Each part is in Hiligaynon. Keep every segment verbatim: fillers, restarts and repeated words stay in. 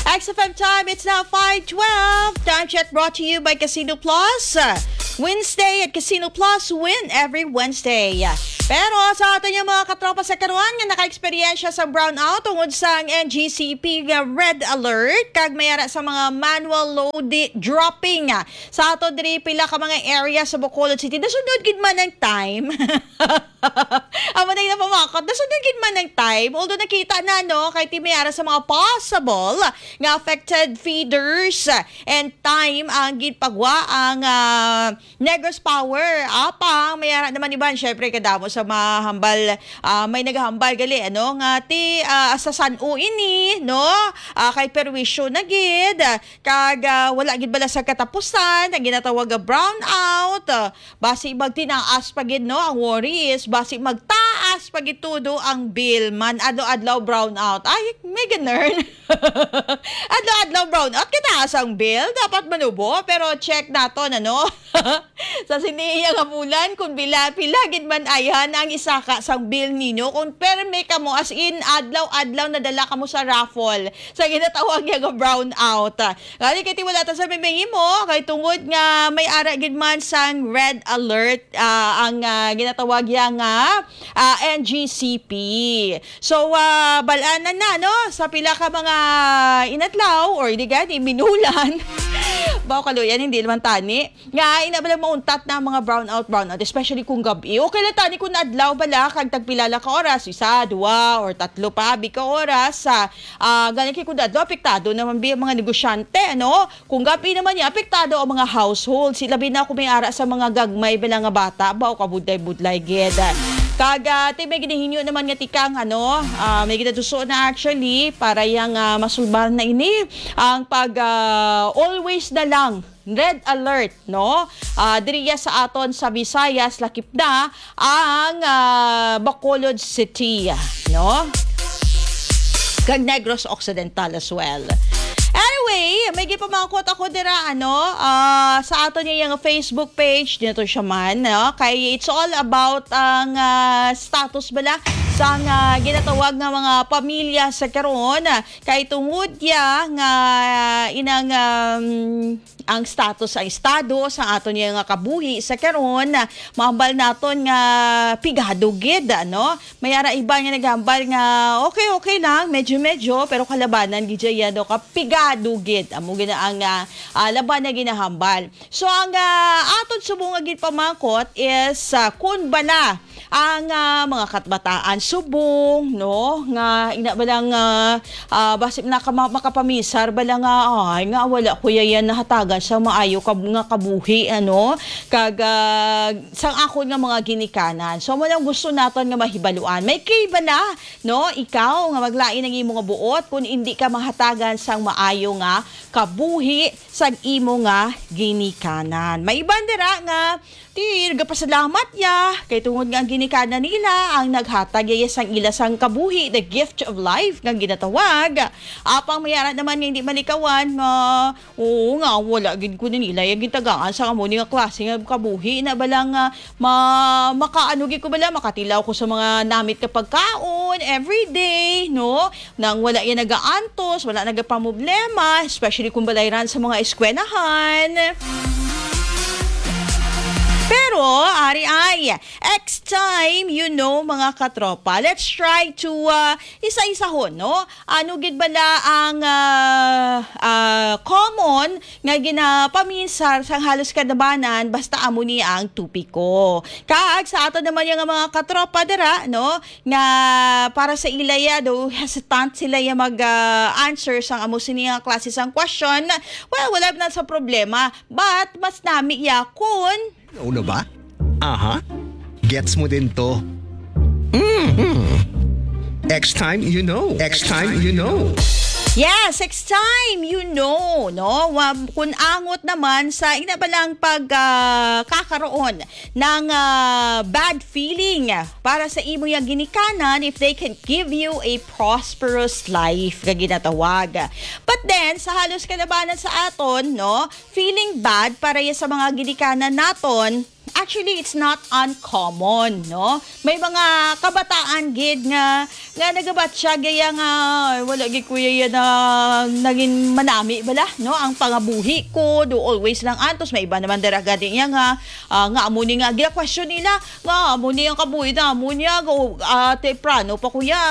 X F M time, it's now five twelve. Time check brought to you by Casino Plus. Uh, Wednesday at Casino Plus, win every Wednesday. Pero sa aton yung mga katropa sa karuan nga naka-eksperyensya sa brownout tungod sa N G C P nga red alert, kag may ara sa mga manual load dropping sa ato diri pila ka mga area sa Bacolod City. Nasunod gid man ang time. Amo na yung napamakot. Nasunod gid man ang time. Although nakita na, no, kay ti may ara sa mga possible nga affected feeders and time ang ginpagwa ang ah, Negros Power. Apang may ara naman iban, syempre, kadamo sa mahambal, ah, may naghambal gali, ano, nga ti ah, sa San O ini, no? Ah, kay perwisyo na gid. Kag ah, wala gid bala sa katapusan ang ginatawag nga brownout. Ah, basi magtinaas pa gid, no, ang worry is basi magtaas pa gid tudo ang bill man adlaw-adlaw brownout. Ay, may ganern. Adlaw-adlaw brownout, kataas ang bill, dapat manubo, pero check naton, ano? Sa sini iya nga bulan, kung bila, pila gid man ayhan ang isaka sang bill ninyo, kung permi kamo, as in, adlaw-adlaw nadala kamo sa raffle, sa ginatawag niya nga brownout. Gani kay ti wala ta sa may mahimo, kay tungod nga may ara gid man sang red alert, ah, ang ah, ginatawag niya nga ah, N G C P. So, ah, bal-anan na, no? Sa pila ka mga inadlaw or di gani, minulan. Bao kaluyan, hindi naman tani. Nga, ina bala mauntat na ang mga brownout, brownout, especially kung gabi. Okay lang tani kung adlaw bala, kag tagpila lang ka oras, isa, dua, or tatlo pa, abi ka oras. Sa, ah, gani kay kung adlaw, apektado naman bi ang mga negosyante, ano? Kung gabi naman niya, apektado ang mga households. Ilabi na kung may ara sa mga gagmay bala nga bata, bao kabudlay-budlay gid. Kag ah, ti may ginahinyo naman nga tikang, ano, ah, may ginatuso na actually para yang ah, masulbahan na ini ang pag ah, always na lang red alert, no? Ah, diriya sa aton sa Visayas, lakip na ang ah, Bacolod City, no? Kag Negros Occidental as well. Anyway, may gipamangkot ako dira, ano, ah, sa aton nga Facebook page, dito siya man, no? Kay it's all about ang ah, status bala sang ah, ginatawag nga mga pamilya sa karon. Kay tungod ya nga inang um, ang status sa estado sa aton nga kabuhi sa karon, mahambal naton nga pigado gid, ano? May ara iban nga naghambal nga okay, okay lang, medyo-medyo, pero kalabanan gid siya, no, ka pigado gid. Amo gid na ang ah, ah, laban na ginahambal. So ang ah, aton subong nga ginpamangkot is ah, kun bala ang ah, mga katbataan subong, no, nga ina bala nga ah, basi na ka ma- makapaminsar bala nga ay nga wala ko yan nahatagan sa maayo kab- nga kabuhi, ano, kag ah, sang akon nga mga ginikanan. So mo lang gusto naton nga mahibaluan. May kay bala, no, ikaw nga maglain ang imo nga buot kung hindi ka mahatagan sang maayo nga kabuhi sang imo nga ginikanan. May iban dira nga ti gapasalamat ya kay tungod nga ang ginikanan nila ang naghatag ya sang ila sang kabuhi, the gift of life nga ginatawag. Apang may ara naman nga hindi malikawan nga, oo nga, wala gid ko nila ya gitagaan sa amo ni nga klase nga kabuhi na bala nga ma makaano gid ko bala, makatilaw ko sa mga namit nga pagkaon every day, no? Nang wala yan nagaantos, wala nagapamroblema, especially kung balay ran sa mga eskwelahan. Pero, ari ay, X time, you know, mga katropa. Let's try to uh, isa-isahon, no? Ano gid bala ang uh, uh, common nga ginapaminsar sang halos kadabanan basta amo ni ang topiko. Kag sa ato naman yung mga katropa dira, no, nga para sa ila ya, do hesitant sila ya mag ah, answer sang amo sini nga klase sang question, well, wala na sa problema. But mas nami ya kun Una ba? Aha. Gets mo din to. Mhm. X time you know. X time you know. Yes, X time you know, no? Wa- Kung angot naman sa ina ba lang pag ah, kakaroon ng ah, bad feeling para sa imo yang ginikanan, if they can give you a prosperous life nga ginatawag. But then, sa halos kalabanan sa aton, no, feeling bad para ya sa mga ginikanan naton, actually, it's not uncommon, no? May mga kabataan gid nga nga nagabatyag iya nga wala gid kuya iya na naging manami bala, no? Ang pangabuhi ko, do always lang antos, may iba naman dira gani iya nga, ah, nga amo ni nga gina-question nila, nga amo ni ang kabuhi na amo niya, go, ah, temprano pa kuya,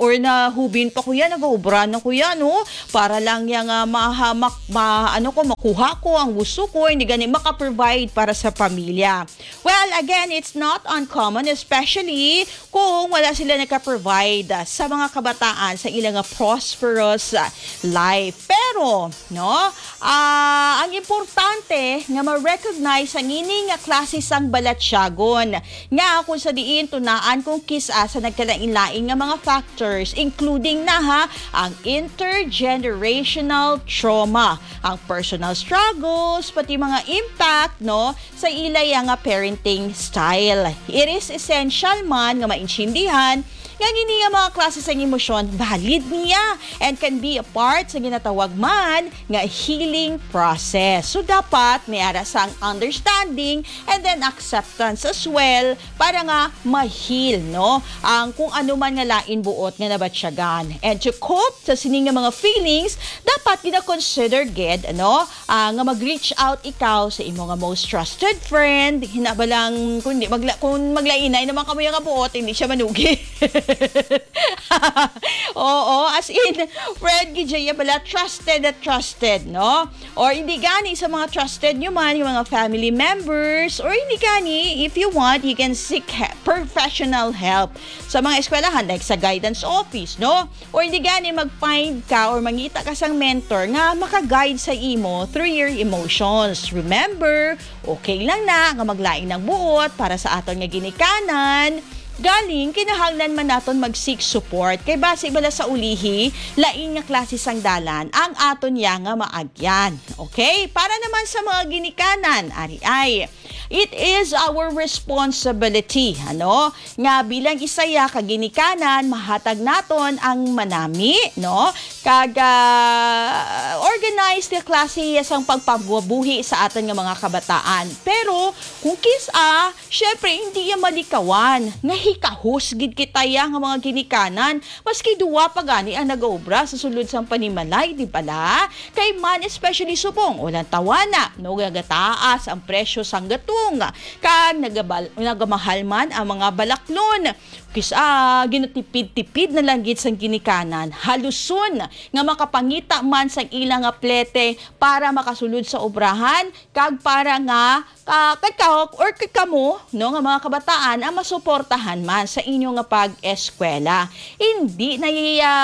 or na hubin pa kuya, nag-uubra na kuya, no? Para lang niya nga mahamak, ma, ano ko, makuha ko ang gusto ko, hindi gani maka-provide para sa pamilya. Well, again, it's not uncommon, especially kung wala sila nagka-provide sa mga kabataan sa ilang prosperous life. Pero, no, ah, ang importante nga ma-recognize ang ini nga klase sang balatyagon nga kung sa diin tunaan kung kis-a sa nagkalain-lain nga mga factors, including na ha, ang intergenerational trauma, ang personal struggles, pati mga impact, no, sa ila ya nga parenting style. It is essential man nga maintindihan nga ang ini nga mga klase sang emosyon valid niya and can be a part sa ginatawag man nga healing process. So, dapat may ara sang understanding and then acceptance as well para nga ma-heal, no, ang kung ano man nga lain buot nga nabatyagan. And to cope sa sini nga mga feelings, dapat gina-consider gid, ano, ah, nga mag-reach out ikaw sa imo nga most trusted friend. Hinabalang kung di magla-, kung maglainay naman kamo nga buot, hindi siya manugi. Oo, as in, friend gid siya bala, trusted at trusted, no? Or hindi gani sa mga trusted nyo man, yung mga family members, or hindi gani, if you want, you can seek he-, professional help sa mga eskwelahan, like sa guidance office, no? Or hindi gani, mag-find ka or mangita ka sang mentor nga maka-guide sa imo through your emotions. Remember, okay lang na nga maglain ang buot para sa aton nga ginikanan. Galing, kinahanglan man naton mag-seek support. Kay basi bala sa ulihi, lain nga klase sang dalan ang aton ya nga maagyan. Okay? Para naman sa mga ginikanan, ari ay, it is our responsibility, ano, nga bilang isa ya ka ginikanan, mahatag naton ang manami, no? Kag, ah, organize nga klase ya sang pagpabuhi sa aton nga mga kabataan. Pero kung kis-a, syempre, hindi ya malikawan nga hikahos gid kita ya nga mga ginikanan, maski duwa pa gani ang nagaobra sa sulod sang panimalay, di bala? Kay man, especially subong walang tawana, no, nagataas ang presyo sang gatong, kag nagabal-, nagamahal man ang mga balaklon. Kis-a, ginatipid-tipid na lang gid sang ginikanan, haluson nga makapangita man sang ila nga plete para makasulod sa obrahan, kag para nga, ah, kay ka, or kay kamo, no, nga mga kabataan ang masuportahan man sa inyo nga pag-eskwela. Hindi na iya,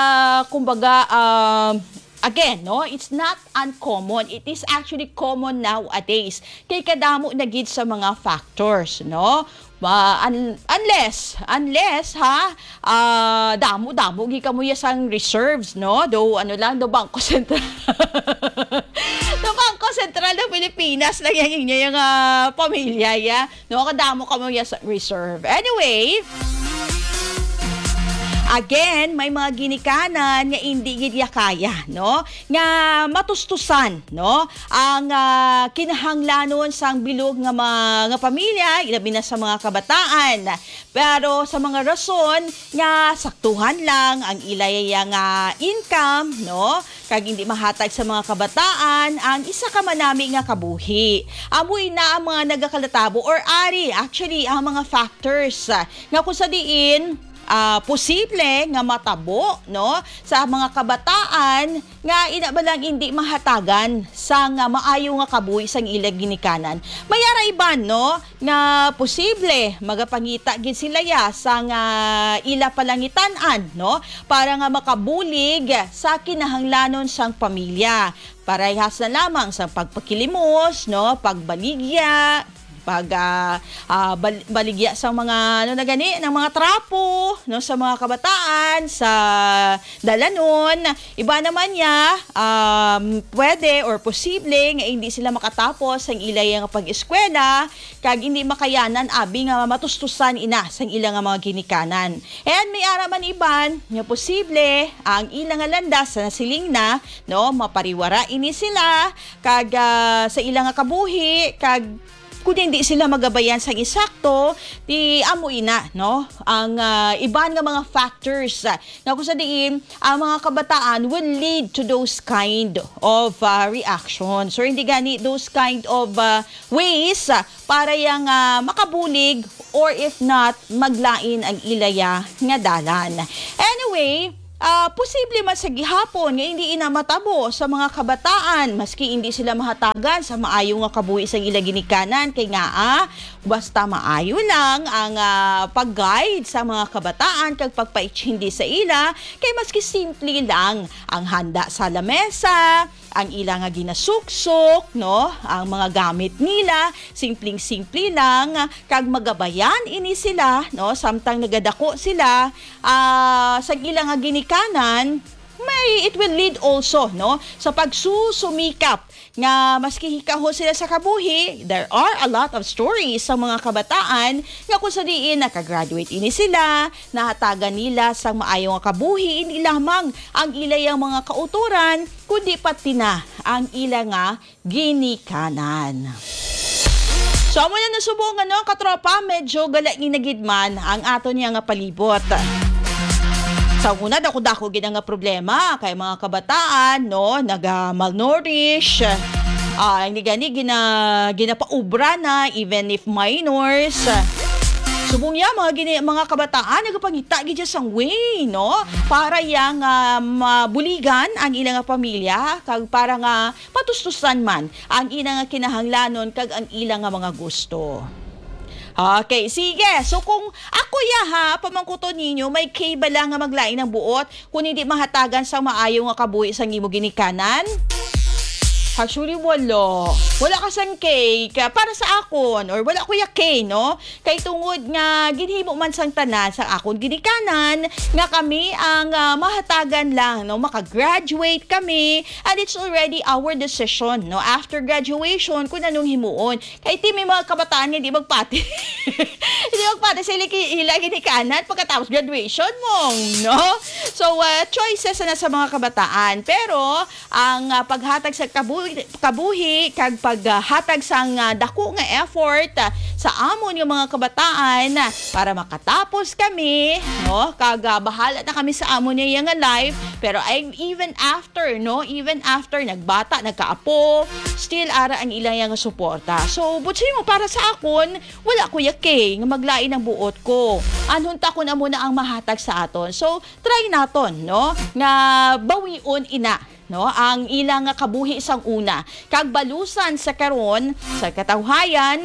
kumbaga, ah, again, no, it's not uncommon. It is actually common nowadays. Kay kadamo na gid sa mga factors, no? Ma-, un-, unless, unless, ha, ah, damo-damo gid kamo ya sang reserves, no? Do, ano lang, do Bangko Sentral. Do Bangko Sentral ng Pilipinas lang yang inyo yung, ah, pamilya, ya. No, kadamo kamo ya sa reserve. Anyway, again, may mga ginikanan nga indi gid ya kaya, no? Nga matustusan, no? Ang, ah, kinahanglanon sang bilog nga ma-, nga pamilya, ilabi na sa mga kabataan. Pero sa mga rason nga saktuhan lang ang ila ya nga income, no? Kag hindi mahatag sa mga kabataan ang isa ka manami nga kabuhi. Amo ina ang mga nagakalatabo or ari, actually, ang mga factors, ah, nga kung sa diin, ah, posible nga matabo, no, sa mga kabataan nga ina ba lang hindi mahatagan sang, ah, maayo nga kabuhi sang ila ginikanan. May ara iban, no, nga posible magapangita gid sila ya sang, ah, ila palangitan-an, no, para nga makabulig sa kinahanglanon sang pamilya. Parehas na lamang sang pagpakilimos, no, pagbaligya, pag, ah, ah, bal-, baligya sa mga, ano na gani, ng mga trapo, no, sa mga kabataan, sa dalanon. Iba naman niya, um, pwede or posible nga hindi sila makatapos ang ila nga pag-eskwela, kag hindi makayanan abi nga matustusan ina sang ila nga mga ginikanan. And may ara man iban nga posible ang ila nga landas sa nasiling na, no, mapariwara ini sila kag, ah, sa ila nga kabuhi, kag Kung hindi sila magabayan sang insakto, di amo ina, no? Ang, ah, iban nga mga factors, ah, nga kung sa diin ang mga kabataan will lead to those kind of, ah, reactions, or hindi gani those kind of, ah, ways, ah, para yang, ah, makabulig, or if not, maglain ang ilaya nga dalan. Anyway, ah, posible man sa gihapon nga hindi ina matabo sa mga kabataan, maski hindi sila mahatagan sa maayo nga kabuhi sa ila ginikanan, kay nga, ah, basta maayo lang ang, ah, pag-guide sa mga kabataan kag pagpaitsindi sa ila, kay maski simple lang ang handa sa lamesa, ang ila nga ginasuksok, no, ang mga gamit nila, simpleng-simple lang, kag magabayan ini sila, no, samtang nagadako sila, ah, sa ila nga ginikanan, may, it will lead also, no, sa pagsusumikap nga maski hikaho sila sa kabuhi. There are a lot of stories sa mga kabataan nga kung sa diin nakagraduate ini sila, nahatagan nila sang maayo nga kabuhi, hindi lamang ang ilayang mga kautoran, kundi pati na ang ila nga ginikanan. So, amo na nasubo nga, no, katropa, medyo galain na gid man ang aton niya nga palibot. Sa una, dako-dako gid ang nga problema kay mga kabataan, no, naga-malnourish. Ah, hindi gani gina-, ginapaubra na, even if minors. Subong niya, mga gini-, mga kabataan nagapangita gid sang way, no, para yang, ah, mabuligan ang ilang pamilya kag para nga patustusan man ang ila nga kinahanglanon kag ang ila nga mga gusto. Okay, sige. So, kung ako ya, ha, pamangkuton ninyo, may K bala nga maglain ang buot kung hindi mahatagan sang maayo nga kabuhi sang imo ginikanan? Actually, wala. Wala ka sang K. Ka-, para sa akon, or wala ko ya K, no? Kay tungod nga ginhimo man sang tanan sa akon ginikanan nga kami ang, ah, mahatagan lang, no, maka-graduate kami, and it's already our decision, no, after graduation kung anong himuon. Kay ti may mga kabataan nga di magpati. Di magpati sa ila ki-, ila ginikanan pagkatapos graduation mo, no? So, ah, choices na sa mga kabataan. Pero ang, ah, paghatag sa kabuhi, kabuhi kag paghatag sang, ah, dako nga effort, ah, sa amon nga mga kabataan, ah, para makatapos kami, no? Kag, ah, bahala na kami sa amon nga life, pero I, even after, no? Even after nagbata, nagkaapo, still ara ang ila nga suporta. So, butsi mo, para sa akon, wala ko ya K nga maglain ang buot ko. Anhon ta kun amo na ang mahatag sa aton. So, try naton, no? Nga bawion ina, no, ang ila nga kabuhi sang una, kag balusan sa karon, sa katawhayan,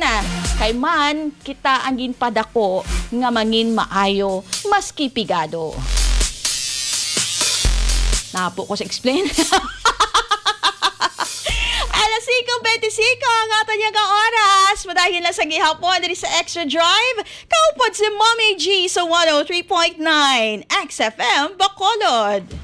kay man kita ang ginpadako nga mangin maayo maski pigado. Napo ko sa explain. Alas singko bente singko ang aton nga oras. Madayon na sa gihapon diri sa Extra Drive. Kaupod si Mommy G sa one oh three point nine X F M Bacolod.